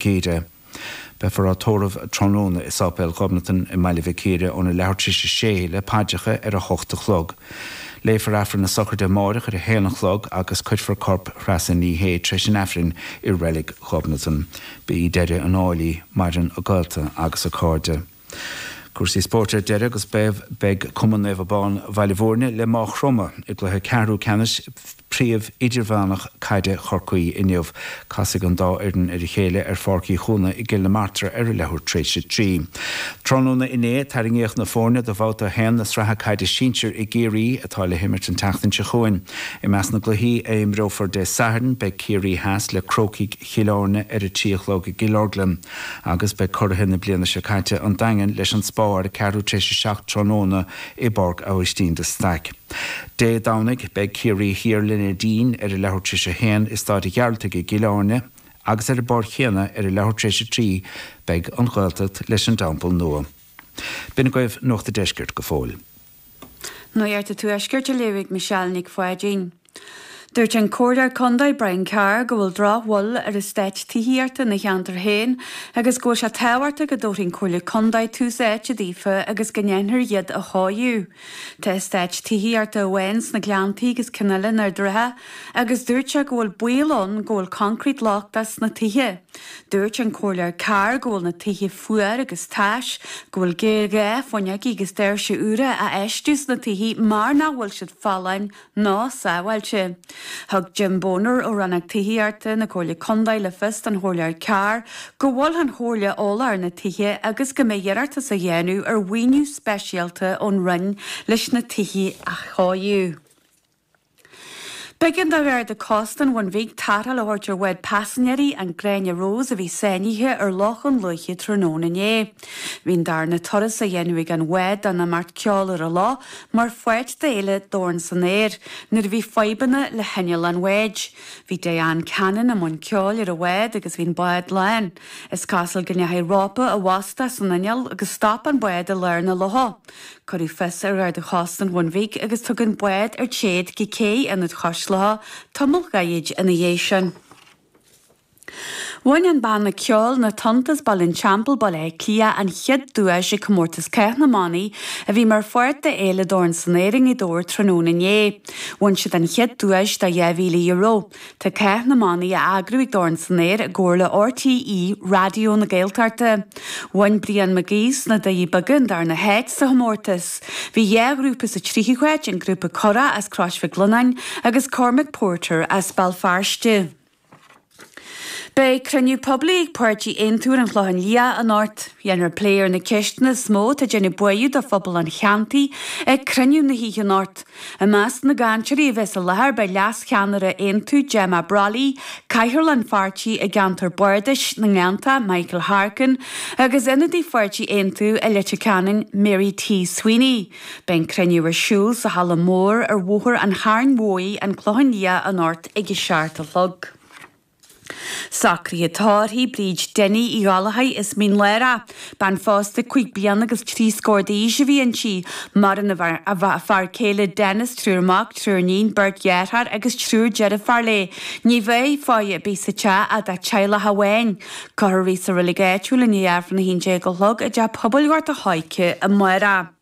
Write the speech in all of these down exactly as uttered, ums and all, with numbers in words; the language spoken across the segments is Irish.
Círe. Beifear á tórramh tráthnóna i Sáipéal Ghobnatan i mBaile Mhic Íre óna leathuair tar éis a sé le paidreacha ar a hocht a chlog. Léifear Aifreann na sochraide amárach ar a haon a chlog agus cuirfear corp Threasa Ní Shé tar éis an Aifrinn i Reilig Ghobnatan. Ba í deireadh an áil í, maireann a gaolta agus a cairde. Cúrsaí spóirt ar deireadh agus beidh beidh Cumann Naomh Abán Bhaile Bhúirne le Maigh Chromtha i gcluiche ceathrú ceannais Príomh Idirmheánach Caide Chorcaí inniu. Casfaidh an dá fhoireann ar a chéile ar Pháirc Uí Chuana i gCill na Martra ar a leathuair tar éis a trí. Tráthnóna inné tarraingíodh na foirne do bhabhta a haon na sraithe caide sinsir i gCiarraí atá le himirt an tseachtain seo chugainn. I measc na gcluichí a imreofar Dé Sathairn beidh Ciarraí Theas le Crócaigh Chill Airne ar a trí a chlog i gCill Orglan agus beidh curaithe na bliana seo caite an Daingean leis an Spá ar a ceathrú tar éis a seacht tráthnóna i bPáirc Aibhistín de Staic. Dé Domhnaigh beidh Ciarraí Thiar le Neidín ar a leathuair tar éis a haon i Staid an Ghearaltaigh i gCill Airne agus ar an bpáirc chéanna ar a leathuair tar éis a trí beidh an Ghaeltacht leis an dTeampall Nua. B'in agaibh Nuacht an Deiscirt go fóill. Nuacht an Tuaiscirt á léamh ag Michelle Nic Pháidín. Dúirt an Comhairleoir Contae Brian Carr go bhfuil drochbhail ar eastáit tithíochta ina cheantar féin agus go bhfuil sé tábhachtach go dtabharfaidh an Comhairle Contae tús áite daofa agus go ndéanfar iad a chóiriú. Tá eastát tithíochta amháin sna Gleanntaí agus ceann eile in Ard an Rátha agus dúirt sé go bhfuil baol ann go bhfuil coincréit lochtach sna tithe. Dúirt an Comhairleoir Carr go bhfuil na tithe fuar agus tais, go bhfuil géarghá fuinneoga agus doirse úra a fheistiú sna tithe mar nach bhfuil siad folláin ná sábháilte. Thug Jim Boner ó Rannóg Tithíochta na Comhairle Contae le fios don Chomhairleoir Carr go bhfuil an Chomhairle eolach ar na tithe agus go mbeidh iarratas á dhéanamh ar mhaoiniú speisialta ón Roinn leis na tithe a chóiriú. B'éigean do Gharda Cósta an Bhun Bhig tarrtháil a thabhairt ar bhád paisinéirí an Gráinne Rose a bhí sáinnithe ar Loch an Lúiche tráthnóna inné. Bhí an darna turas á dhéanamh ag an bhád don imeacht Ceol ar an Loch mar pháirt d'fhéile Dorn san Aer nuair a bhí fadhbanna le hinneall an bháid. Bhí Diane Cannon i mbun ceoil ar an bhád agus bhí an bád lán. Is cosúil go ndeachaigh rópa i bhfostach san inneall agus stop an bád i lár na locha. Cuireadh fios ar Gharda Chósta an Bhun Bhig agus tugadh an bád ar téad go cé Ionad Chois Locha tamall gairid ina dhiaidh sin. Bhain an banna ceoil Na Tonnta as Baile an Teampaill, Baile Átha Cliath an chéad duais ag comórtas Cath na mBannaí a bhí mar pháirt d'Fhéile Dorn san Aer i nGaoth Dobhair tráthnóna inné. Bhain siad an chéad duais de dhá mhíle euro. Tá Cath na mBannaí á eagrú ag Dorn san Aer i gcomhar le RTÉ Raidió na Gaeltachta. Bhain Brian Mac Aoidh sna Doirí Beaga an darna háit sa chomórtas. Bhí dhá ghrúpa sa tríú háit, an grúpa Currach as Crois Mhic Lionnáin agus Cormac Porter as Béal Feirste. Beidh cruinniú poiblí ag páirtí Aontú ar an Chlochán Liath anocht. Dhéanfar plé ar na ceisteanna is mó atá ag déanamh buartha do phobal an cheantair ag cruinniú na hoíche anocht. I measc na gcainteoirí a bheas i láthair beidh leascheannaire Aontú Gemma Brolly, cathaoirleach an pháirtí i gceantar Bardais na nGleannta Michael Harkin agus ionadaí pháirtí Aontú i Leitir Ceanainn Mary T Sweeney. Beidh an cruinniú ar siúl sa halla mór ar Bhóthar an Chairn Mhóir, an Clochán Liath anocht ag a seacht a chlog. Socruithe tórraimh Bríd Denny Uí Ghallchóir as Mín Lárach. Bean phósta cúig bliana agus trí scór d'aois a bhí inti. Maireann a fear céile Dennis, triúr mac, triúr iníon, beirt dheartháir agus triúr deirfiúr léi. Ní bheidh faire ar bith sa teach ach dá teaghlach amháin. Cuirfear í sa reilig áitiúil i ndiaidh Aifreann a haon déag a chlog i dteach pobail Ghort a' Choirce amárach.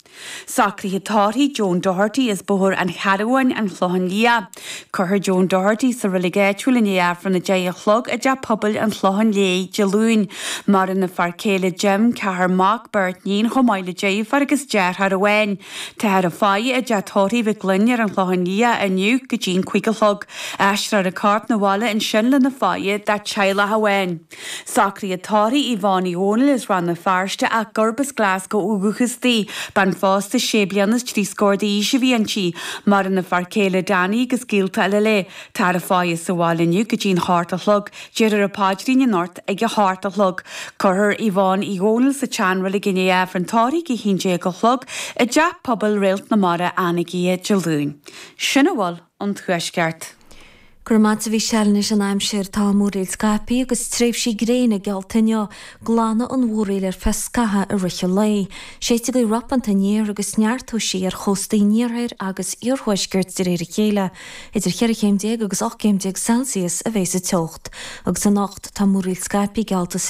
Socruithe tórraimh Joan Doherty as Bóthar an Charbháin, an Clochán Liath. Cuirfear Joan Doherty sa reilig áitiúil i ndiaidh Aifreann a deich a chlog i dteach pobail an Chlocháin Léith Dé Luain. Maireann a fear céile Jim, ceathrar mac, beirt níon chomh maith le deirfiúr agus deartháir amháin. Táthar ag faire i dteach tórraimh Mhic Gloinn ar an Chlochán Liath inniu go dtí'n cúig a chlog. Aistreofar a corp 'na bhaile ansin lena faire dá teaghlach amháin. Socruithe tórraimh Yvonne Uí Dhónaill as Rann na Feirste ach gurb as Glasgow ó dhúchas di. Bean phósta sé bliana is trí scór d'aois a bhí inti. Maireann a fear céile Danny agus gaolta eile léi. Táthar ag faire sa bhaile inniu go dtí'n hocht a chlog. Déarfar an paidrín anocht ag a hocht a chlog. Cuirfear Yvonne Uí Dhónaill sa tseanreilig i ndiaidh Aifreann tórraimh ag a haon déag a chlog i dteach pobail Réalt na Mara Anagaire Dé Luain. Sin a bhfuil ón Tuaisceart. Go raibh maith agat a Mhícheáil anois an aimsir tá múraíl scaipthe agus tréimhsí gréine geallta inniu, glanfaidh an mhúraíl ar feadh scaithimh i rith an lae. Séidfidh gaoth ropanta aniar agus neartóidh sí ar chóstaí an iarthair agus iarthuaiscirt de réir a chéile. Idir cheithre chéim déag agus ocht gcéim déag Celsius a bheidh sa teocht. Agus anocht tá múraíl scaipthe geallta san